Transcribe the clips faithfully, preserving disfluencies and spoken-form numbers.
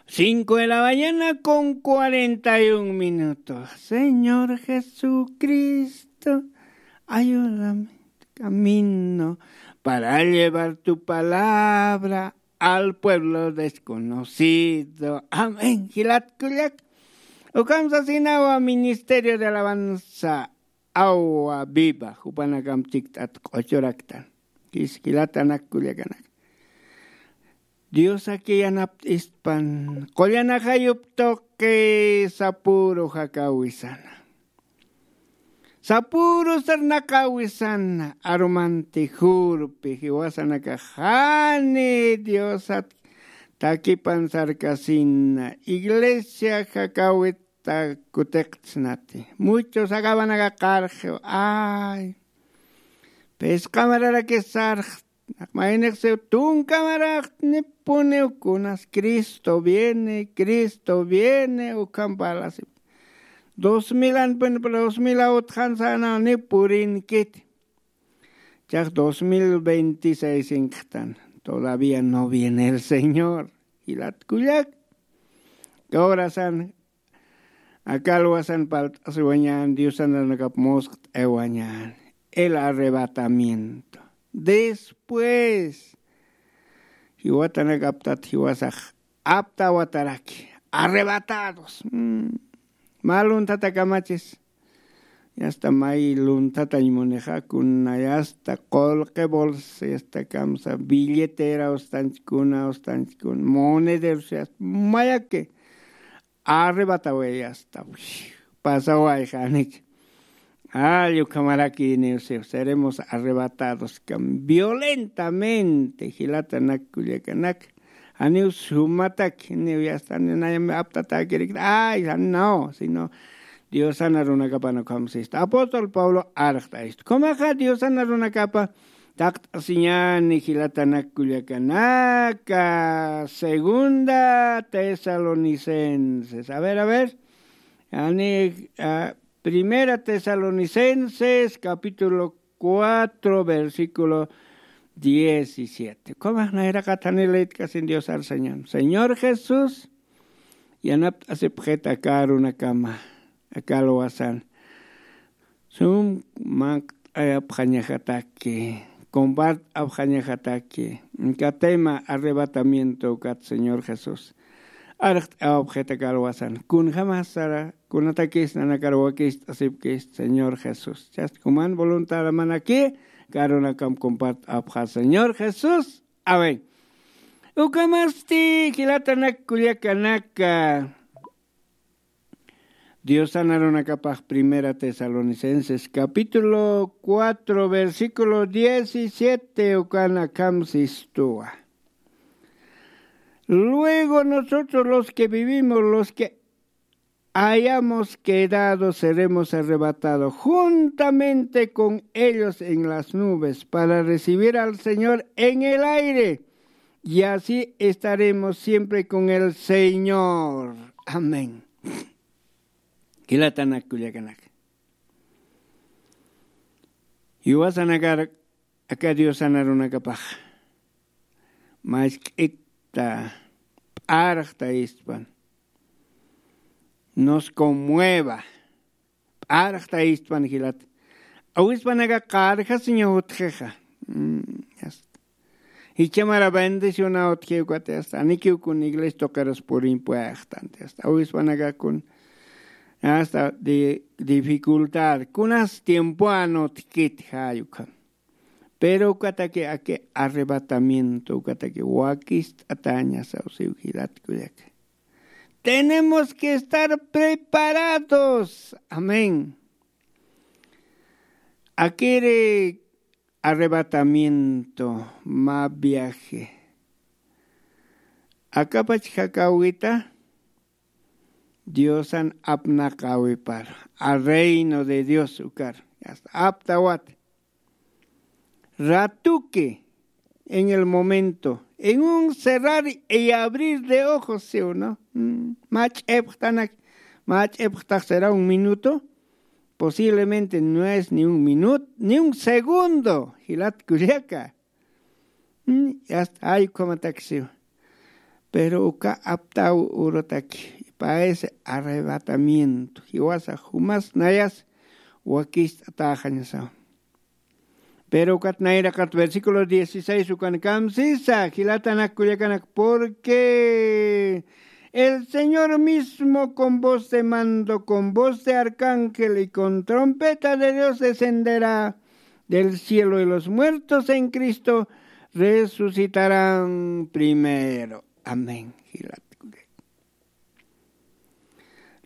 Cinco de la mañana con cuarenta y un minutos. Señor Jesucristo, ayúdame, camino para llevar tu palabra al pueblo desconocido. Amén. Jilat kullak. Ukham sasinawa Ministerio de Alabanza, Agua Viva, jupanakamp chikt'at q'uchuraktan. Kis jilatanak kullakanak. Diosaki yanapt'ispan, qullan ajayup tuqi sapüru jakawisana. Sapüru sarnaqawisana, arumanti jurpi, jiwasanakax jani Diosat takipan sarkasina, iglesia jakawit ta kutiqt'snati. Muchos akabanaka qarxiw. Ay. Phisqa mararaki sarxt. Naq maynix siw tunka maraxtnipuniw kunas Cristo viene, Cristo viene, ukham parlasip. Dos mil anpun, dos mil utjan sanaw ni purinkit. Chax dos mil veintiséis inqtan. Todavía no viene el Señor. Jilat kullak. Horasan akalwasan palt'asiwañän, Diosan arunakap musqt'ayawañän. El arrebatamiento. Después, jiwatanak aptat jiwasax aptawataraki. Arrebatados. Mm. Mä lunthatakamachis. Yasta may lunthatañ munixa, kuna yasta qullqi bolsa, yasta kamsa billetera ustanchkuna, ustanchkuna, monederos, yasta mayaki. Arrebataway asta, pasaway janich. Ay, ukhamaraki niw siw, seremos arrebatados kam violentamente, jilatanak kullakanak. Janiw sumatak, niw yasta, ni nayam aptatakirikta, ay, jan no, sino Diosana runakapana ukham sistu. Apóstol Pablo arxt'aystu. Kumaxa Diosana runakapa taqt'asiñäni jilatanak kullakanaka, Segunda Tesalonicenses. A ver, a ver. Ani, ah, Primera Tesalonicenses, capítulo cuatro, versículo diecisiete. Kumax nayraqat jani leytkasin Diosar Señor. Señor Jesús, yanapt'asipxit aka arunakama, aka alwasan. Sum manq't'ayapxañajataki, compart'apxañajataki, aka tema arrebatamiento ukat Señor Jesús. Arxt'awapxit aka alwasan. Kunjamasara, kunatakis nanakar wakist'asipkist Señor Jesús. Chast kuman voluntad manaki, aka arunakam compart'apxa Señor Jesús. Amén. Ukamasti, jilatanak kullakanaka. Diosan arunakapax Primera Tesalonicenses, capítulo cuatro, versículo diecisiete, ukan akham sistuwa. Luego nosotros los que vivimos, los que hayamos quedado, seremos arrebatados juntamente con ellos en las nubes para recibir al Señor en el aire. Y así estaremos siempre con el Señor. Amén. Jilatanak kullakanak. Jiwasanakar aka Diosan arunakapax. Mask'ita p'arxta istpan. Nos conmueva. P'arxta istpan jilat. Awispanaka qarjasiña utjixa. Mm, ya está. Jichhamara bendicionaw utji ukat, ya está. Anikiw kun iglesia tuqirus puriñ puextan, ya está. Awispanaka kun, ya está, di-, dificultad. Kunas tiempoan utjkit jay ukham. Pero ukataki aki arrebatamiento, ukataki wakist'ataña sawsiw jilat kullaka. Tenemos que estar preparados. Amén. Akiri arrebatamiento, mä viaje. Akapach jakawita Diosan apnaqäwipar, a reino de Dios ukar. Hasta aptawat. Ratuki, en el momento, en un cerrar y abrir de ojos, ¿sí o no? Mm, mä ch'epxtanak, mä ch'epxtax será un minuto, posiblemente no es ni un minuto, ni un segundo, jilat kullaka. Mm, ya está, ay, ukhamatak siwa. Pero uka aptaw urutaki, pa ese arrebatamiento jiwasa jumas nayas wakist'atäxañasaw. Pero ukat nayraqat versículo dieciséis ukan kamsisa, jilatanak kullakanak, porque el Señor mismo con voz de mando, con voz de arcángel y con trompeta de Dios descenderá del cielo, y los muertos en Cristo resucitarán primero. Amén. Jilat kullak.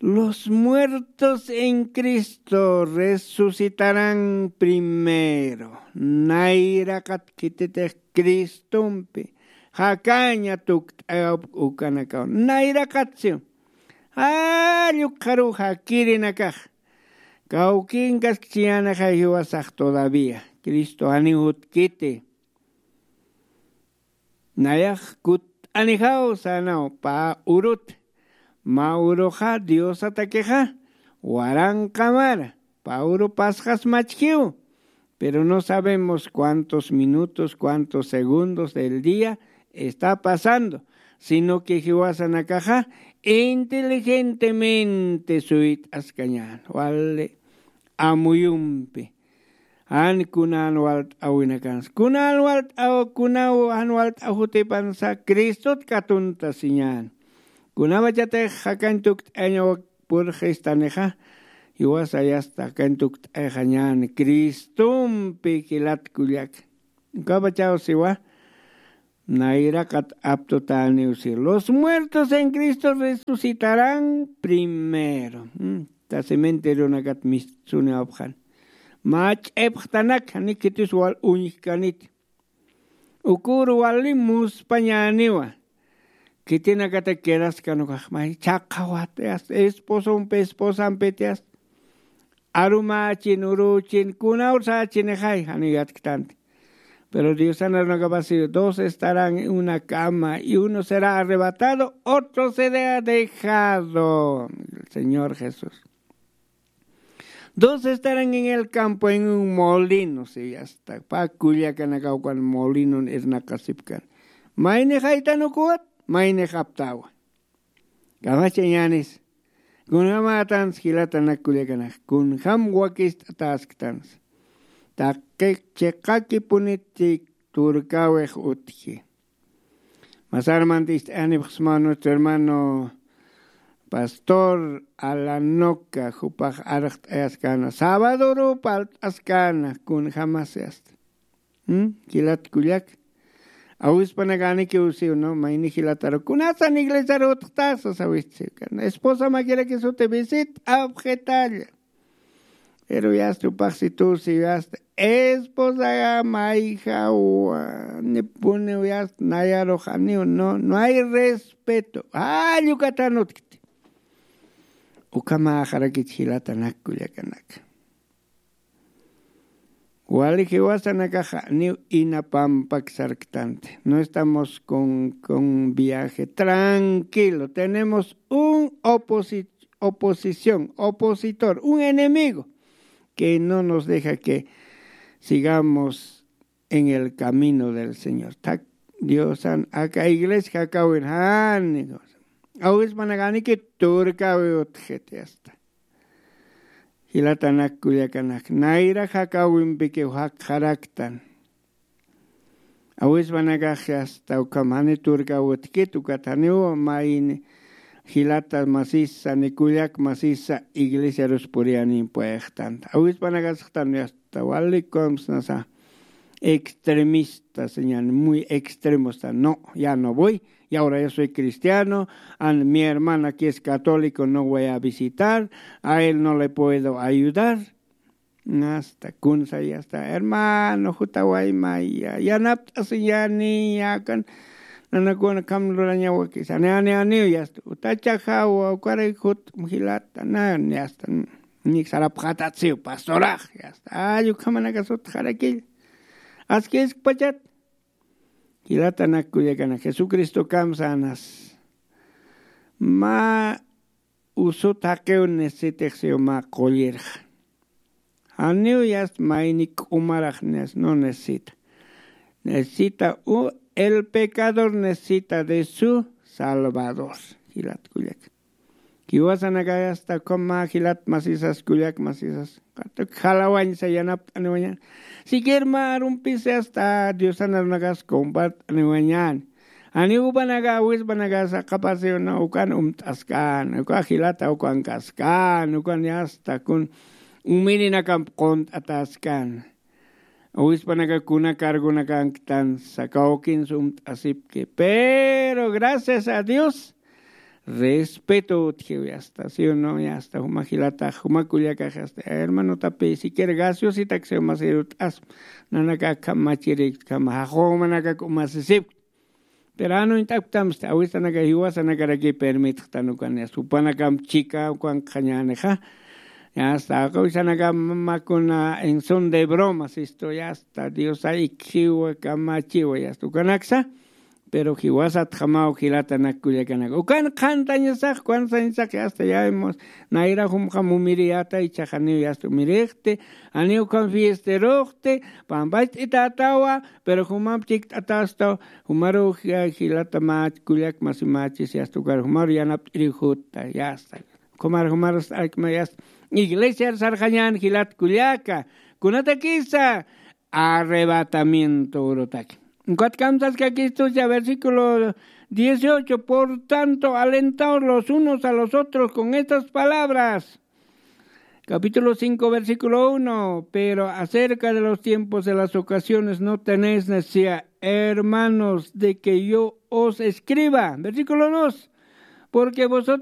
Los muertos en Cristo resucitarán primero. Nayraqat khititix Cristompi jakaña tukt'ayawp ukanakaw. Nayraqatsiw. Jall ukxaruw jakirinakax. Kawkinkaskchiyänaxay jiwasax todavía. Cristo janiw jutkiti. Nayax kutt'anijaw sänaw pä urut. Mä uruxa Diosatakixa waranqa mara. Pä uru pasxas machjiw. Pero no sabemos cuántos minutos, cuántos segundos del día está pasando, sino que jiwasanakaxa inteligentemente suyt'askañän. Wali amuyumpi. Jan kunan walt'awinakansa. Kunan walt'aw, kunaw jan walt'aw jutipansa Cristot katuntasiñän. Kunamachatix jakañ tukt'ayañaw purxistanixa, jiwasa yasta jakañ tukt'ayxañän Cristompi jilat kullak. Ukapachaw siwa, nayraqat aptutäniw si. Los muertos en Cristo resucitarán primero. Mm, ta cementerionakat mistsuniwapxan. Mä ch'ipxtanak, janikitis wal uñjkanit. Ukur wali muspañäniwa. Khitinakata quedaskan ukax, may chhaqhawat, yasta, esposompi, esposampit, yasta. Arumächin, urüchin, kunawsächinixay, janiw yatktanti. Pero Diosan arunakapasiw, dos estarán en una cama, y uno será arrebatado, otro será dejado. El Señor Jesús. Dos estarán en el campo, en un molino, si, yasta. Pä kullakanakaw ukan molinon irnaqasipkan. Maynix jaytan ukuwat, maynix aptawa. Kamachañänis. Kunjamätans jilatanak kullakanak. Kunjam wakist'atäsktansa. Taqi chiqakipuniti turkäwix utji. Masarmant ist'ayanipxsma nuestro hermano pastor Alanoca, jupax arxt'ayaskäna. Sábadoru parlt'askäna, kunjamas yasta. ¿Mm? Jilat kullak. Awispanakanikiw siw, ¿no? Mayni jilataru. Kunasan iglesiaru utjtasa sawisti siw. Esposa makirakis uti visit'apxitalla. Pero yasta upaxsitusi, yasta esposa mayjawa, nipuniw yasta nayarux janiw, no, no hay respeto. Jall ukatan utkti. Ukhamaxarakich jilatanak kullakanak. Wali jiwasanakaxa janiw inapampak sarktanti. No estamos con, con viaje tranquilo. Tenemos un oposi-, oposición, opositor, un enemigo que no nos deja que sigamos en el camino del Señor. Tak Diosan aka iglesia jakawin jani. Awispanakanikit turkäwi utjiti yasta. Jilatanak kullakanak, nayra jakawimpikiw jakxaraktan. Awispanakax yasta ukham jani turkäwi utjkit, ukat janiw mayni jilata masisa, ni kullak masisa, iglesiarus puriyänin puextanta. Awispanakasxtan yasta, wali kamsnasa, extremista, señal, muy extremo está. No, ya no voy. Y ahora yo soy cristiano, and mi hermana que es católico no voy a visitar, a él no le puedo ayudar. Hasta kunsa, ya está, hermano, jutawaymaya, yanapt'asiñäni, yakan nanakuna kam lurañawakisa, ani, ani, aniw, ya está, utachajawa, ukaray jut, jilata, na, ya está, nik sarapxatatsiw, pastorax, ya está, ay, ukhamanakas utjarakilla. Askiskpachat, jilatanak kullakanak, Jesucristo kamsänas. Mä usut jaqiw necesitix siw mä qullirxa. Janiw yasta mayni k'umarax nes-, no necesita. Necesita u-, el pecador necesita de su salvados. Jilat kullak, jiwasanakay asta ukhama jilat masisas kullak masisas, qatuq jalawañsa yanapt'aniwañan. Siquier mä arumpisi asta diosan arunakas compart'aniwañan. Janiw jupanaka awispanaka saqapasiw no ukan umt'askan uka jilata ukan kaskan ukan asta kun umirinakamp qunt'ataskan. Awispanaka kuna cargonakanktan sakawkinsa umt'asipki pero gracias a dios respeto utjiw yasta si no yasta juma jilatax juma kullakax yasta hermanotapi siquiera gaseositaksiw masirut'asp. Nanaka akham machiriktkama jaqumanakak umasisipkt. Pero anuñt'akptamsti awisanaka jiwasanakarakiy permitxtan ukan yasta jupanakamp chika ukan qhañänixa. Yasta awisanaka makuna en son de broma sistu yasta diosa ikjiwa kamachiwa yasta ukanaksa. Pero jiwasatjamaw jilatanak kullakanaka ukan qhantañasax kuansañasax yasta yaymus. Nayra jumxam umiriyata ichaxaniw yasta umirixti. Janiw ukham fiesteruxti pampach t'itatawa. Pero jumamp chikt'atastaw jumaru jilata mä kullak masi mächis yasta ukar jumaru yanapt'iriw jutta yasta. Jumar jumar alkma yasta iglesiar sarxañan jilat kullaka kunatakisa arrebatamiento urutaki. Ukatkamsaskakistucha versículo dieciocho por tanto alentaos los unos a los otros con estas palabras. Capítulo cinco versículo uno pero acerca de los tiempos de las ocasiones no tenéis necesidad hermanos de que yo os escriba. Versículo dos porque vosotros